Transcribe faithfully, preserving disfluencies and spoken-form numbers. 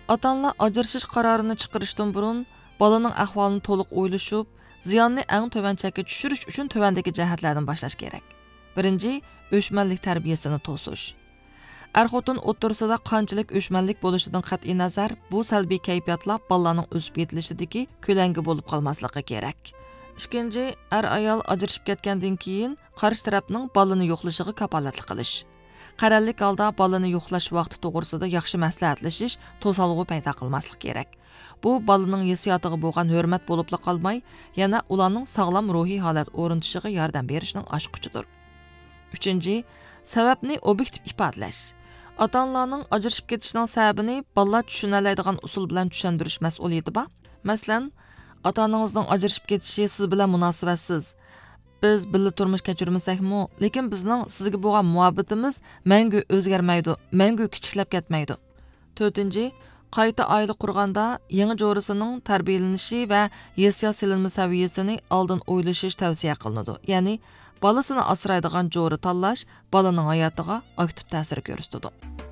ئاتا-ئانىلار ئاجرىشىش قارارىنى چىقىرىشتىن بۇرۇن، بالىنىڭ ئەھۋالىنى تولۇق ئويلىشىپ، زىياننى ئەڭ تۆۋەن چەككە چۈشۈرۈش ئۈچۈن تۆۋەندىكى جەھەتلەردىن باشلاش كېرەك. بىرىنچى، ئۆچمەنلىك تەربىيەسىنى توسۇش. ئەر-خوتۇن ئوتتۇرىسىدا قانچىلىك ئۆچمەنلىك بولۇشىدىن قەتئىينەزەر، بۇ سەلبىي كەيپىياتلار بالىلارنىڭ ئۆسۈپ يېتىلىشىدىكى كۆلەڭگە بولۇپ قالماسلىقى كېرەك. ئىككىنچى، ئەر-ئايال ئاجرىشىپ كەتكەندىن كېيىن قارشى تەرەپنىڭ بالىنى يوقلىشىغا كاپالەتلىك قىلىش. قەرەللىك ھالدا بالىنى يوقلاش ۋاقتى توغرىسىدا ياخشى مەسلىھەتلىشىش توسالغۇ پەيدا قىلماسلىقى كېرەك. بۇ بالىنىڭ ھېسسىياتىغا بولغان ھۆرمەت بولۇپلا قالماي، يەنە ئۇلارنىڭ ساغلام روھىي ھالەت ئورنىتىشىغا ياردەم بېرىشنىڭ ئاچقۇچىدۇر. ئۈچىنچى، سەۋەبنى ئوبيېكتىپ ئىپادىلەش. ئاتا-ئانىلارنىڭ ئاجرىشىپ كېتىشىنىڭ سەۋەبىنى بالىلار چۈشىنەلەيدىغان ئۇسۇل بىلەن چۈشەندۈرۈش مەسئۇلىيىتى بار. مەسىلەن، ئاتا-ئانىڭىزنىڭ ئاجرىشىپ كېتىشى سىز بىلەن مۇناسىۋەتسىز. بىز بىللە تۇرمۇش كەچۈرمىسەكمۇ، لېكىن بىزنىڭ سىزگە بولغان مۇھەببىتىمىز مەڭگۈ ئۆزگەرمەيدۇ، مەڭگۈ كىچىكلەپ كەتمەيدۇ. تۆتىنچى، قايتا ئائىلە قۇرغاندا يېڭى جورىسىنىڭ تەربىيەلىنىشى ۋە ھېسسىيات سېلىنما سەۋىيەسىنى ئالدىن ئويلىشىش تەۋسىيە قىلىنىدۇ. يەنى، بالىسىنى ئاسرايدىغان جورا تاللاش بالىنىڭ ھاياتىغا ئاكتىپ تەسىر كۆرسىتىدۇ.